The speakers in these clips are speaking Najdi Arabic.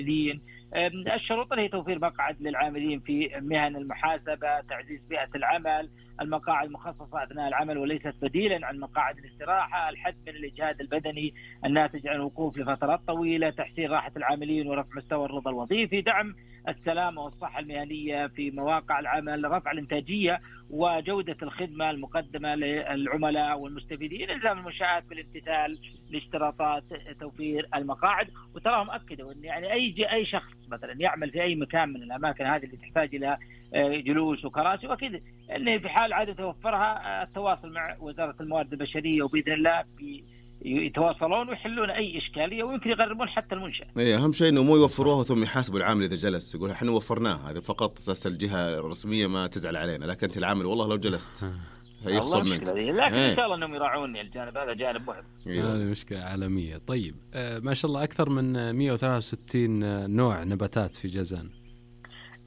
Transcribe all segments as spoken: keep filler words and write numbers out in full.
المستفيدين. الشروط هي توفير مقعد للعاملين في مهن المحاسبة، تعزيز بيئة العمل، المقاعد مخصصة أثناء العمل وليست بديلا عن مقاعد الاستراحة، الحد من الإجهاد البدني الناتج عن الوقوف لفترات طويلة، تحسين راحة العاملين ورفع مستوى الرضا الوظيفي، دعم السلامة والصحة المهنية في مواقع العمل، رفع الإنتاجية وجودة الخدمة المقدمة للعملاء والمستفيدين، إلزام المنشآت بالامتثال لاشتراطات توفير المقاعد. وتراهم أكدوا أن يعني أي أي شخص مثلا يعمل في أي مكان من الأماكن هذه اللي تحتاج إلى جلوس وكراسي وكذا، أنه في حال عادة توفرها التواصل مع وزارة الموارد البشرية، وبإذن الله يتواصلون ويحلون أي إشكالية ويمكن يغرمون حتى المنشأة. إيه أهم شيء إنه مو يوفروها ثم يحاسبوا العامل إذا جلس، يقول إحنا وفرناه، هذا فقط أساس الجهة الرسمية ما تزعل علينا، لكن أنت العامل والله لو جلست هيخصم منك. لكن إن شاء الله إنهم يراعون الجانب هذا، جانب مهم. هذه مشكلة عالمية. طيب آه ما شاء الله أكثر من مئة وثلاثة وستين نوع نباتات في جازان.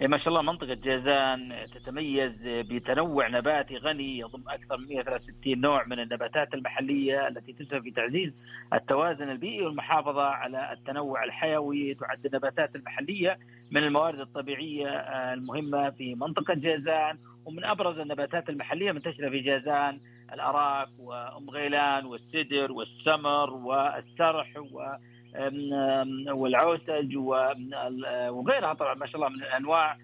ما شاء الله منطقة جازان تتميز بتنوع نباتي غني يضم أكثر من مئة وثلاثة وستين نوع من النباتات المحلية التي تسهم في تعزيز التوازن البيئي والمحافظة على التنوع الحيوي. تعد النباتات المحلية من الموارد الطبيعية المهمة في منطقة جازان، ومن أبرز النباتات المحلية منتشرة في جازان الأراك وأم غيلان والسدر والسمر والسرح و والعوسج وغيرها طبعا ما شاء الله من الأنواع.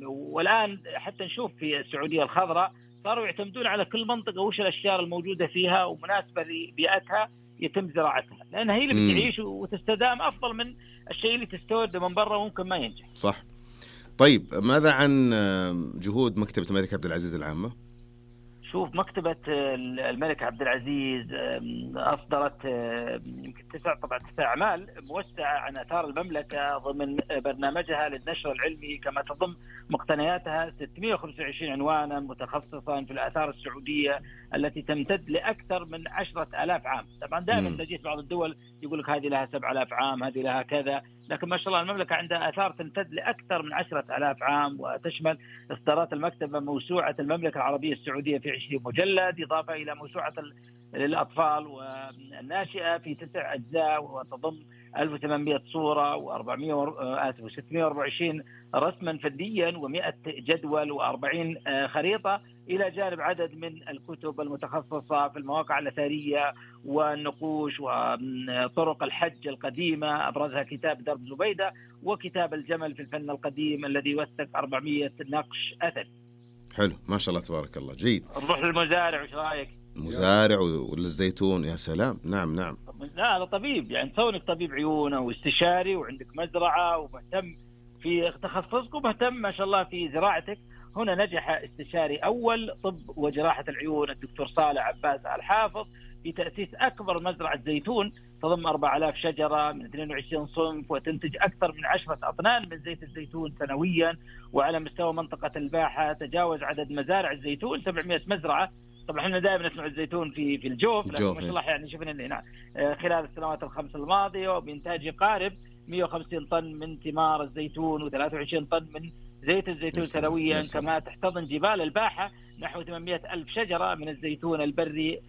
والآن حتى نشوف في السعودية الخضراء صاروا يعتمدون على كل منطقة وش الأشجار الموجودة فيها ومناسبة لبيئتها يتم زراعتها، لأنها هي اللي بتعيش وتستدام أفضل من الشيء اللي تستورد من برا وممكن ما ينجح. صح. طيب ماذا عن جهود مكتبة الملك عبد العزيز العامة؟ شوف مكتبة الملك عبد العزيز أصدرت يمكن تسع طبعا تسع أعمال موسعة عن آثار المملكة ضمن برنامجها للنشر العلمي، كما تضم مقتنياتها ستمئة وخمسة وعشرين عنوانا متخصصا في الآثار السعودية التي تمتد لأكثر من عشرة آلاف عام. طبعا دائما تجد بعض الدول يقول لك هذه لها سبع آلاف عام، هذه لها كذا، لكن ما شاء الله المملكة عندها آثار تمتد لأكثر من عشرة آلاف عام. وتشمل إصدارات المكتبة موسوعة المملكة العربية السعودية في عشرين مجلد، إضافة إلى موسوعة للأطفال والناشئة في تسع أجزاء وتضم ألف وثمانمئة صورة وأربعمئة وستمئة وأربعة وعشرين رسما فرديا ومئة جدول وأربعين خريطة، إلى جانب عدد من الكتب المتخصصة في المواقع الأثرية والنقوش وطرق الحج القديمة، أبرزها كتاب درب زبيدة وكتاب الجمل في الفن القديم الذي يوثق أربعمئة نقش أثري. حلو ما شاء الله تبارك الله. جيد. نروح للمزارع، وش رأيك؟ مزارع وللزيتون. يا سلام. نعم نعم. لا هذا طبيب، يعني كونك طبيب عيون واستشاري وعندك مزرعة ومهتم في تخصصك ومهتم ما شاء الله في زراعتك. هنا نجح استشاري أول طب وجراحة العيون الدكتور صالح عباس الحافظ في تأسيس أكبر مزرعة زيتون تضم أربعة آلاف شجرة من اثنين وعشرين صنف، وتنتج أكثر من عشرة أطنان من زيت الزيتون سنويا. وعلى مستوى منطقة الباحة تجاوز عدد مزارع الزيتون سبعمئة مزرعة. طبعا احنا دائما نسمع الزيتون في في الجوف، لكن ما شاء الله يعني شفنا هنا خلال السنوات الخمس الماضية وبإنتاج يقارب مئة وخمسين طن من ثمار الزيتون وثلاثة وعشرين طن من زيت الزيتون سنويا. كما تحتضن جبال الباحة نحو ثمانمئة ألف شجرة من الزيتون البري،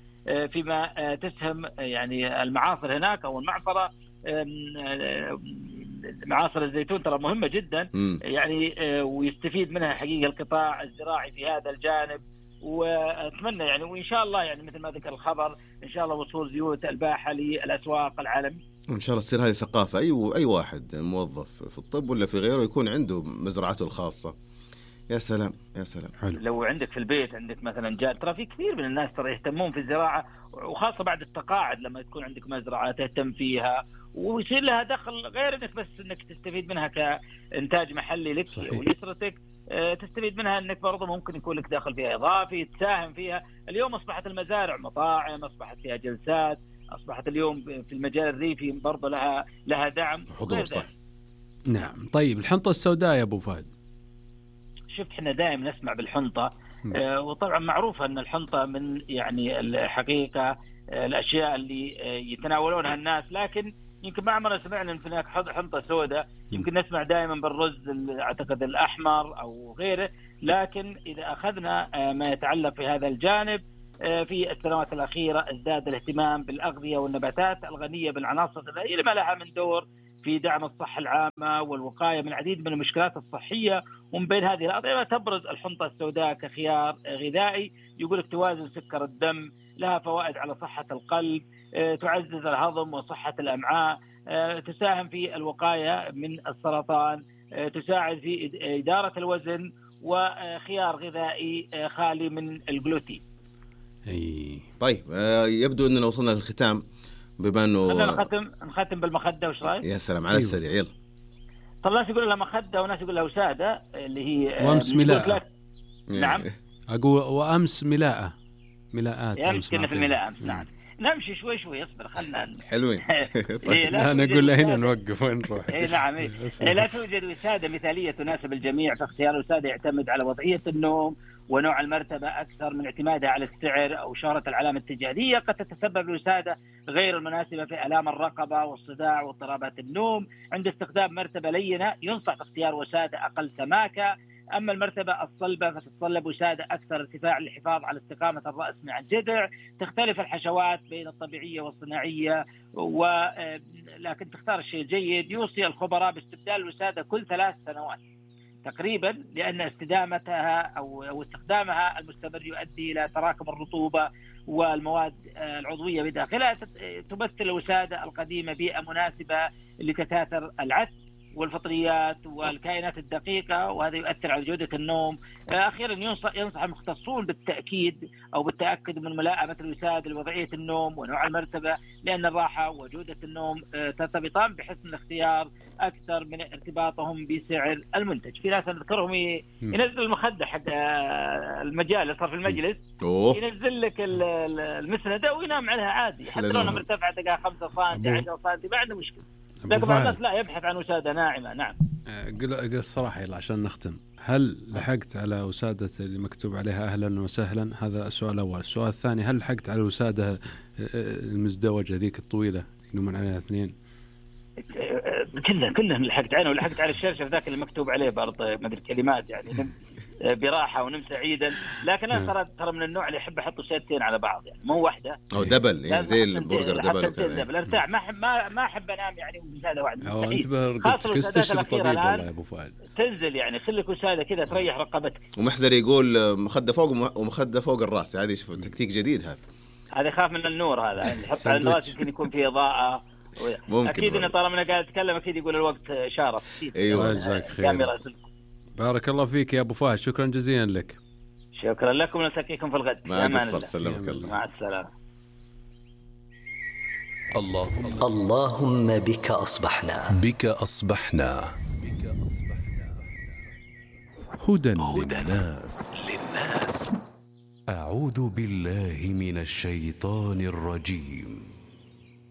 فيما تسهم يعني المعاصر هناك أو المعصرة. معاصر الزيتون ترى مهمة جدا يعني، ويستفيد منها حقيقة القطاع الزراعي في هذا الجانب. وأتمنى يعني وإن شاء الله يعني مثل ما ذكر الخبر إن شاء الله وصول زيوت الباحة للأسواق العالمية، وإن شاء الله تصير هذه ثقافة. أي أي واحد موظف في الطب ولا في غيره يكون عنده مزرعته الخاصة. يا سلام يا سلام. حلو. لو عندك في البيت عندك مثلا جار، ترى في كثير من الناس ترى يهتمون في الزراعة، وخاصة بعد التقاعد لما تكون عندك مزرعة تهتم فيها ويصير لها دخل غير انك بس انك تستفيد منها كإنتاج محلي لك ولأسرتك، تستفيد منها انك برضه ممكن يكون لك دخل فيها اضافي تساهم فيها. اليوم اصبحت المزارع مطاعم، اصبحت فيها جلسات، اصبحت اليوم في المجال الريفي برضه لها لها دعم حضور. صح. نعم. طيب الحنطة السوداء يا ابو فهد، شوف احنا دائما نسمع بالحنطة، آه وطبعا معروفة ان الحنطة من يعني الحقيقة آه الاشياء اللي آه يتناولونها الناس، لكن يمكن ما عمرنا سمعنا ان هناك حنطة سوداء. يمكن نسمع دائما بالرز اعتقد الاحمر او غيره، لكن اذا اخذنا آه ما يتعلق في هذا الجانب آه في السنوات الاخيرة ازداد الاهتمام بالاغذية والنباتات الغنية بالعناصر الغذائية لما لها من دور في دعم الصحة العامة والوقاية من العديد من المشكلات الصحية. ومن بين هذه الأطعمة تبرز الحنطة السوداء كخيار غذائي، يقول لك توازن سكر الدم، لها فوائد على صحة القلب، تعزز الهضم وصحة الأمعاء، تساهم في الوقاية من السرطان، تساعد في إدارة الوزن، وخيار غذائي خالي من الجلوتين. أي. طيب يبدو أننا وصلنا للختام، بما أنه خلينا نختم نختم بالمخدة، وش رأيك؟ يا سلام على السريع، يلا. طب ناس يقول لها مخدة وناس يقول لها وسادة، اللي هي وأمس ملاءة. نعم أقول وأمس ملاءة ملاءات. يا أمس كنا في الملاءة أمس. نعم نمشي شوي شوي، اصبر خلنا حلوين. إيه لا نقول له هنا نوقف وين نروح. إيه نعم إيه. إيه لا توجد وسادة مثالية تناسب الجميع، فاختيار الوسادة يعتمد على وضعية النوم ونوع المرتبة أكثر من اعتمادها على السعر أو شهرة العلامة التجارية. قد تتسبب الوسادة غير المناسبة في آلام الرقبة والصداع واضطرابات النوم. عند استخدام مرتبة لينة ينصح باختيار وسادة أقل سماكة. أما المرتبة الصلبة فتتطلب وسادة أكثر ارتفاع للحفاظ على استقامة الرأس مع الجذع. تختلف الحشوات بين الطبيعية والصناعية، ولكن تختار الشيء الجيد. يوصي الخبراء باستبدال الوسادة كل ثلاث سنوات تقريبا، لأن استدامتها أو استخدامها المستمر يؤدي إلى تراكم الرطوبة والمواد العضوية بداخلها. تمثل الوسادة القديمة بيئة مناسبة لتكاثر العدس والفطريات والكائنات الدقيقة، وهذا يؤثر على جودة النوم. أخيرا ينصح, ينصح المختصون بالتأكيد أو بالتأكد من ملائمة الوسادة لوضعية النوم ونوع المرتبة، لأن الراحة وجودة النوم ترتبطان بحسن الاختيار أكثر من ارتباطهم بسعر المنتج. في ناس نذكرهم ينزل المخدة حق المجال صار في المجلس، ينزل لك المسندة وينام عليها عادي، حتى لو أنها مرتفعة تلقاها خمسة سنتي عشرة سنتي ما عنده مشكلة. لكن بعض الناس لا يبحث عن وسادة ناعمة. نعم قل قل الصراحة يلا عشان نختم، هل لحقت على وسادة اللي مكتوب عليها أهلا وسهلا؟ هذا السؤال الأول. السؤال الثاني، هل لحقت على الوسادة المزدوجة ذيك الطويلة ينومون عليها اثنين؟ كلها كلها لحقت عنه، ولحقت على الشرشف ذاك اللي مكتوب عليه برضه ما أدري كلمات يعني براحة ونم سعيدا. لكن أنا ترى ترى من النوع اللي يحب أحط وسادتين على بعض، يعني مو واحدة أو دبل يعني زي البرجر دبل وكذا. دبل ارتاح، ما أحب ما ما أحب أنام يعني بوسادة واحدة. أو أنت برقبتك استشري الطبيب والله يا أبو فؤاد. تنزل يعني خليك وسادة كذا تريح رقبتك. ومحزر يقول مخدة فوق ومخدة فوق الرأس، هذه شوف تكتيك جديد هذا. هذا خاف من النور هذا، يعني يحط على الراس يمكن يكون فيه إضاءة. أكيد إن طالما أنا قاعد أتكلم أكيد يقول الوقت شارف. أيوة جزاك خير. بارك الله فيك يا أبو فهد، شكرا جزيلا لك. شكرا لكم ونلتقيكم في الغد. مع السلامة. مع السلامة. الله اللهم بك أصبحنا بك أصبحنا هدى للناس. أعوذ بالله من الشيطان الرجيم.